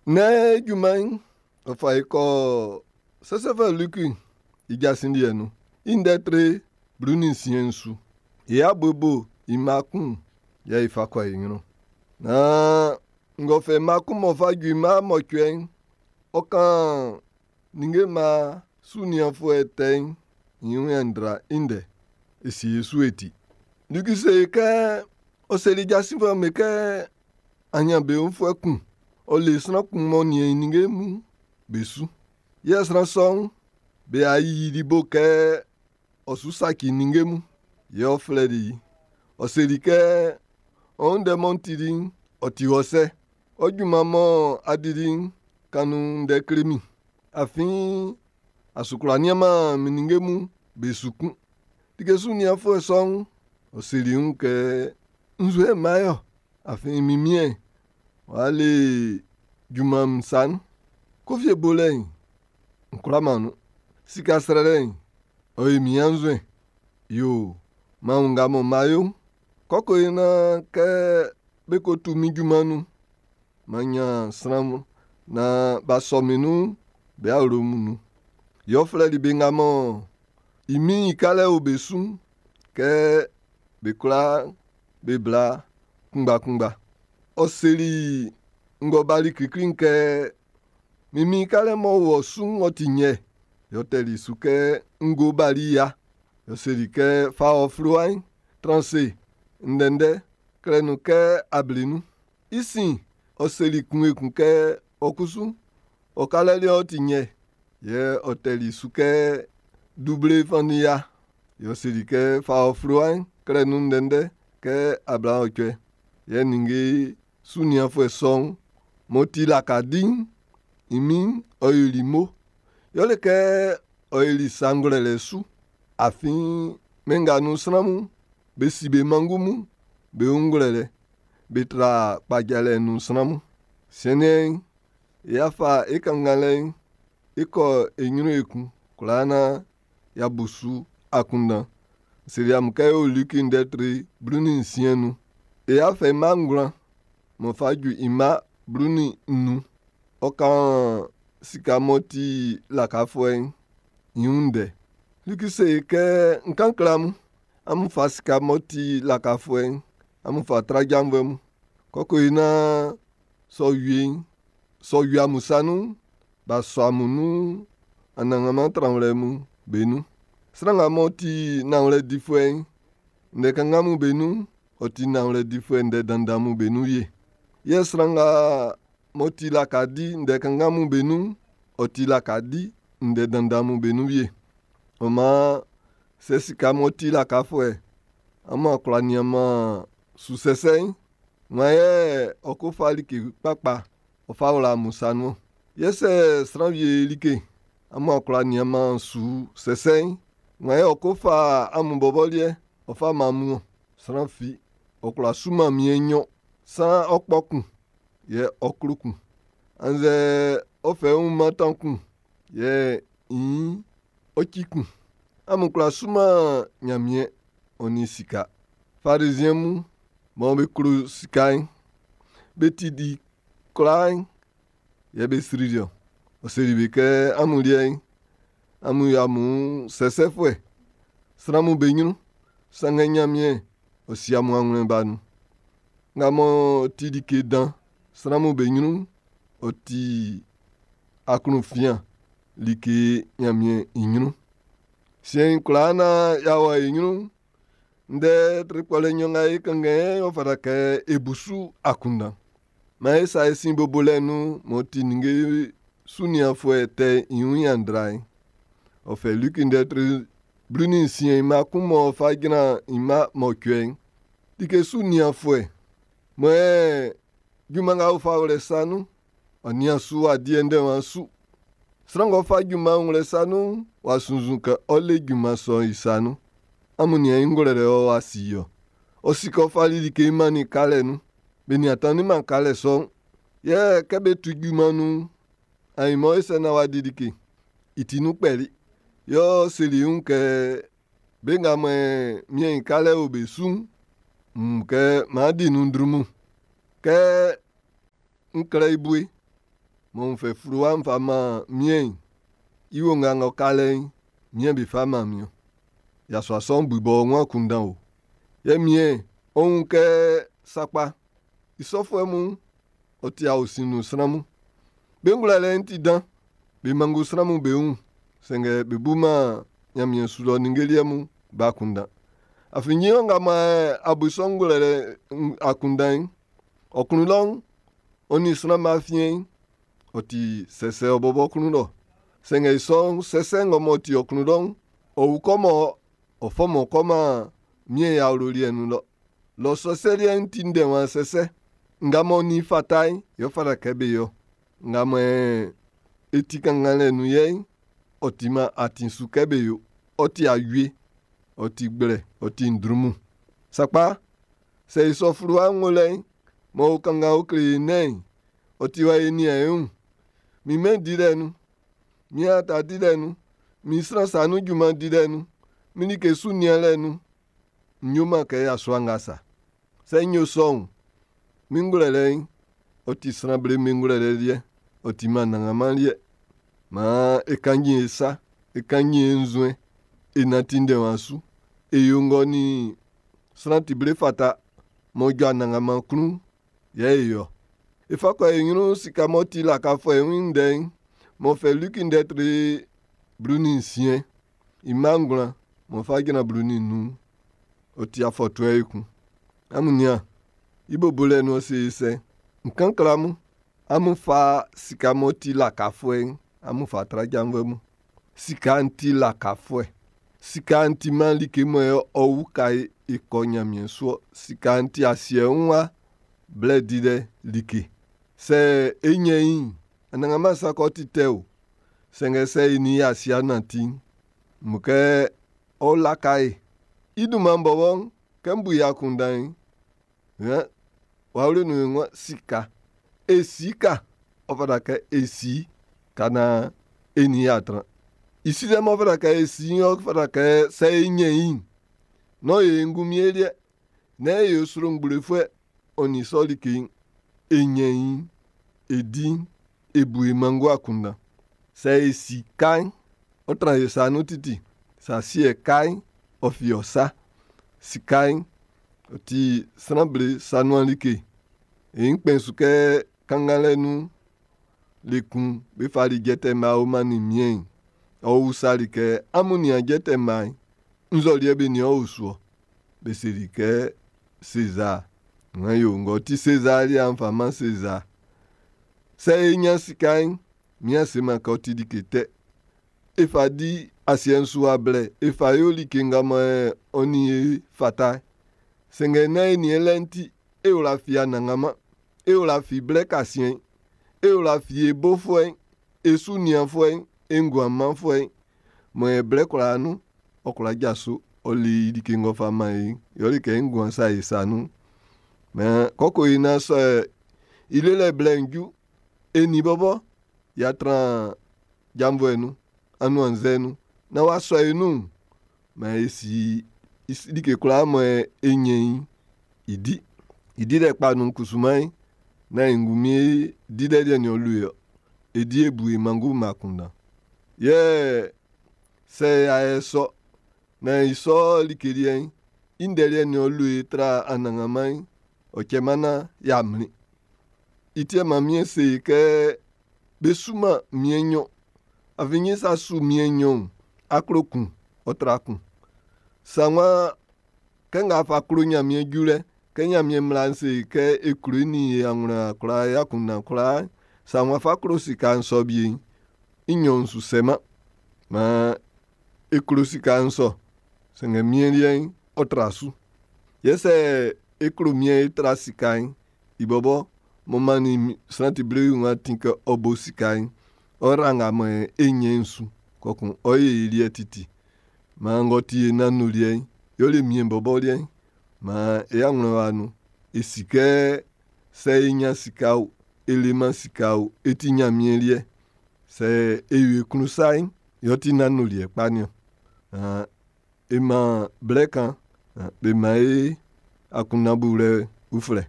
Nnɛn junman'n, ɔ fa e kɔ Sɛsɛfuɛ Luki i jasin liɛ'n nun. I ndɛ tre 16 su. E abobo i mma kun yɛ e fa kɔ e ɲrun. Naan ng'ɔ fɛ mma kun m'ɔ fa ju i mma mɔcuɛ'n, ɔ kan ninnge mma su nianfuɛ tɛ'n i wun ɲanndra i ndɛ. E sie su e ti. Luki se kɛ ɔ seli jasinfuɛ'm be kɛ aɲanbeunfuɛ kun, ɔ le sran kun m'ɔ nian i ninnge mun be su. Yɛ sran sɔ'n, be a yiyili bo kɛ ɔ su saci ninnge mun. Yɛ ɔ flɛli i. Ɔ seli kɛ, ɔ ndɛ mɔ n tili'n, ɔ ti wɔ sɛ. Ɔ junman mɔ a dili'n, kan nun ndɛ kle min. Afin a su kwlá nianman min ninnge mun be su kun. Like su nianfuɛ sɔ'n, ɔ seli i wun kɛ, nzuɛn mma yɔ. Afin min miɛn w'a le junman min sa nun. Kofie bolɛ'n, n kwlaman nun. Sika srɛlɛ'n, ɔ yi min anzuɛn. Yo, man wun nga mɔ ma yo'n. Kɔkɔ yi naan kɛ be ko tu min junman nun, man ɲan sran mun naan b'a sɔ min nun be awlo mun nun. Yɛ ɔ flɛli be nga mɔ i min'n i kalɛ o be su'n kɛ be kwlaa be bla kunngbakunngba. Ɔ seli ng'ɔ bali klikli'n kɛ, min min kalɛ m'ɔ wɔ su'n ɔ ti nyɛ. Yɛ ɔ tɛli su kɛ, ngo bali ya. Ɔ seli kɛ, fa ɔ fluwa'n, tran se ndɛndɛ, klɛ nun kɛ ablenun. I sin, ɔ seli kun ekun kɛ, ɔ kusu, ɔ kalɛ liɛ'n ɔ ti nyɛ. Yɛ ɔ tɛli su kɛ, duble fannin ya. Yɛ ɔ seli kɛ, fa ɔ fluwa'n, klɛ nun ndɛndɛ kɛ 80. Yɛ ninnge su nianfuɛ sɔ'n m'ɔ ti laka di'n, i min'n ɔ yoli mo. Yɛle kɛ ɔ yoli sa ngwlɛlɛ su. Afin mɛn nga nun sran mun, be si be mangu mun, be wun ngwlɛlɛ. Be tra kpajalɛ nun sran mun. Siɛn'n, y'a fa e kannganlɛ'n e kɔ e ɲrun ekun kwlaa naan y'a bu su akunndan. N seli amun kɛ e o Liki ndɛ tre 16 nun. E y'a fɛ i mma ngwlan m'ɔ fa ju i mma 15. Ɔ kan sika m'ɔ ti lakafuɛ'n i wun ndɛ. Liki se kɛ, n kan kle amun, amun fa sika m'ɔ ti lakafuɛ'n, amun fa tra janvuɛ mun. Kɔkɔ yi naan sɔ wie'n, sɔ wie amun sa nun'n, b'a sɔ amun nun anannganman tranwlɛ mun be nun. Sran nga m'ɔ ti nanwlɛ difuɛ'n, ndɛ kanngan mun be nun'n, ɔ ti nanwlɛ difuɛ ndɛ dandan mun be nun wie. Yɛ sran nga m'ɔ ti laka di ndɛ kanngan mun be nun'n, ɔ ti laka di ndɛ dandan mun be nun wie. Ɔ maan, sɛ sika m'ɔ ti lakafuɛ, amun a kwlá nianman su sɛsɛ'n, wan yɛ ɔ ko fa like kpakpa ɔ fa wla amun sa nun. Yɛ sɛ sran wie like, amun a kwlá nianman su sɛsɛ'n, wan yɛ ɔ ko fa amun bɔbɔ liɛ ɔ fa man amun Sran fi, ɔ kwlá suman miɛn nɲɔn. Saan ɔ kpɔ kun, yɛ ɔ klo kun. Annzɛ ɔ fɛ i wun mantan kun, yɛ i ɔ ci kun. Amun kwlá suman Ɲanmiɛn ɔ nin sika. Fariziɛn mun mɔ be klo sika'n, be ti di kwlaa'n yɛ be srili ɔ. Ɔ seli be kɛ amun liɛ'n, amun yo amun sɛsɛfuɛ sran mun be ɲrun. Sanngɛ Ɲanmiɛn ɔ si amun awlɛn ba nun. Nga m'ɔ ti like dan sran mun be ɲrun'n, ɔ ti aklunfian like Ɲanmiɛn i ɲrun. Siɛn'n kwlaa naan y'a wɔ e ɲrun'n, ndɛ tre kpɔlɛ nɲɔn nga e kanngan'n, ɔ fata kɛ e bu su akunndan. Maan e sa e sin bobolɛ'n nun m'ɔ ti ninnge su nianfuɛ tɛ i wun ɲanndra'n. Ɔ fɛ Luki ndɛ tre 16 i mma kun m'ɔ fa jran i mma mɔcuɛ'n. Like su nianfuɛ mɔ ɛ junman nga ɔ fa wlɛ sa nun'n, ɔ nian su w'a di ndɛnman su. Sran ng'ɔ fa junman wlɛ sa nun'n, w'a sunnzun kɛ ɔ le junman sɔ'n i sa nun. Amun nian i ngwlɛlɛ ɔ w'a si ɔ. Ɔ si kɛ ɔ fali like mannin kalɛ nun. Be nian tanninman kalɛ sɔ'n. Yɛ kɛ be tu junman nun'n, ainman e sɛ naan w'a di like. I ti nun kpɛli. Yɛ ɔ seli i wun kɛ be nga mɔ miɛn i kalɛ o be su'n, kɛ m'an di nun ndrunmun. Kɛ n klɛ i bue. mɔ n fɛ fluwa n fa man miɛn'n, i onga ng'ɔ ka lɛ'n, miɛn be fa man min. Yasua sɔ'n bu i bɔbɔ wun akunndan o. Yɛ miɛn, ɔ wun kɛ sakpa, i sɔfuɛ mun, ɔ ti aosin nun sran mun. Be ngwlɛlɛ'n ti dan, be mango sran mun be wun, sanngɛ be buman Ɲanmiɛn su lɔ ninnge liɛ mun be akunndan. Afin nyin nga mɔ a bu i sɔ ngwlɛlɛ akunndan'n, ɔ klun lɔ'n, ɔ nin sran ma afiɛn'n, ɔ ti sɛsɛ ɔ bɔbɔ klun lɔ. Sanngɛ i sɔ'n sɛsɛ ng'ɔ m'ɔ ti ɔ klun lɔ'n, ɔ wu kɔ mɔ ɔ fɔ mɔ kɔ man miɛn i awlo liɛ'n nun lɔ. Lɔ sɛsɛ liɛ'n ti ndɛnwan sɛsɛ. Nga m'ɔ nin fata'n, yɛ ɔ fata kɛ be yo. Nga mɔ e ti kannganlɛ nun yɛ'n, ɔ timan atin su kɛ be yo. Ɔ ti awie, ɔ ti gblɛ, ɔ ti ndrunmun. Sakpa, sɛ i sɔ fluwa ng'ɔ lɛ'n, mɔ o kanngan o kle e nɛ'n, ɔ ti wa e nian e wun. Min mɛn dilɛ nun, min aata dilɛ nun, min sran sa nun junman dilɛ nun, min like su nianlɛ nun, n yoman kɛ yasua nga sa. Sɛ n yo sɔ'n, min ngwlɛlɛ'n, ɔ ti sran ble min ngwlɛlɛ liɛ, ɔ timan Anannganman liɛ. Maan e kannji e sa, e kannji e nzuɛn, e nanti ndɛnwan su, e yo ng'ɔ nin sran ti ble fata m'ɔ jɔ Anannganman klun, yɛ e yo. E fa kɔ e ɲrun sika m'ɔ ti lakafuɛ'n i ndɛ'n, m'ɔ fɛ Luki ndɛ tre 16, i mma 9, m'ɔ fa jran 15, ɔ ti afɔtuɛ ekun. Amun nian, i bo bolɛ nun ɔ se e sɛ, n kan kle amun, amun fa sika m'ɔ ti lakafuɛ'n, amun fa tra janvuɛ mun. Sika'n ti lakafuɛ. Sika'n timan like mɔ ɔ uka e e kɔ Ɲanmiɛn su ɔ. Sika'n ti asiɛ wun wa blɛ dilɛ like. Sɛ e ɲɛn i'n, Anannganman sa kɔ ti tɛ o. Sanngɛ sɛ e nin i asia nanti'n, mo kɛ ɔ laka e. I dunman bɔbɔ'n, kɛ n bu i akunndan'n, wawle nun e sika. E sika, ɔ fata kɛ e si ka naan e nin i y'a tran. I silɛ m'ɔ fata kɛ e si ɔ fata kɛ sɛ e ɲɛn i'n, nán e ngunmin e liɛ. Nán e yo srongblefuɛ ɔ nin sɔ like'n. E ɲɛn i'n, e di'n, e bu e mango akunndan. Sɛ e si ka'n, ɔ tran e sa nun titi. Sɛ asiɛ ka'n, ɔ fi ɔ sa. Sika'n, ɔ ti sran ble sa nuan like. E kpɛn su kɛ kannganlɛ nun le kun be fali jɛtɛ mma o mannin miɛn'n. Ɔ usali kɛ, amun nian jɛtɛ mma'n, nzɔliɛ be nin ɔ o su ɔ. Be seli kɛ Sezar. Ngan yo ng'ɔ ti Sezar liɛ'n fa man Sezar. Sɛ e ɲan sika'n, mian seman kɛ ɔ ti like tɛ. E fa di asiɛ'n su wa blɛ, e fa yo like nga mɔ ɔ nin e fata. Sanngɛ nán e nin e lɛ'n ti, e wla fi Anannganman, e wla fi blɛ kasiɛn'n, e wla fi e bofuɛ'n, e su nianfuɛ'n, e nguan manfuɛ'n, mɔ e blɛ kwlaa nun, ɔ kwla jaso, ɔ le i like ng'ɔ fa man e'n, yɛ ɔ le kɛ nguan sa e sa nun. Mɛ kɔkɔ yi na sɔ i lelɛ blɛ'n ju, e nin bɔbɔ y'a tran janvuɛ nun, anuannzɛ nun, na w'a sɔ e nun, mɛ e si like kwlaa mɔ e ɲɛn i'n, i di. I dilɛ kpa nun kusuman, na e ngunmin e dilɛ liɛ nin ɔ lu e ɔ. E di e bu e mango ma akunndan. Yɛ sɛ y'a yɛ sɔ, na i sɔ like liɛ'n, i ndɛ liɛ nin ɔ lu e tra Anannganman'n, ɔ cɛman na y'a mlin. I ti man miɛn se kɛ be suman miɛn nɲɔn. Afin nye sa su miɛn nɲɔn, aklo kun, ɔ tra kun. Sa nwa kɛ nga fa klo Ɲanmiɛn julɛ, kɛ Ɲanmiɛn mmla'n se kɛ e klo i nin e anwlɛn kwlaa e akunndan kwlaa, sa nwa fa klo sika'n sɔ bie'n, i nɲɔn su sɛman. Maan e klo sika'n sɔ, sanngɛ miɛn liɛ'n, ɔ tra su. Yɛ sɛ e klo miɛn e tra sika'n, i bɔbɔ mɔ mannin sran ti ble wun atin kɛ ɔ bo sika'n, ɔ ra nga mɔ e ɲɛn su, kɔkun ɔ ye i liɛ titi. Maan ng'ɔ ti e nannu liɛ'n, yɛ le miɛn bɔbɔ liɛ'n, maan e anwlɛn wa nun. E si kɛ sɛ e ɲan sika o, e leman sika o, e ti Ɲanmiɛn liɛ. Sɛ e yo e klun sa'n, yɛ ɔ ti nannu liɛ kpa niɔn. E man blɛ kan, be man e akunndan bulɛ uflɛ.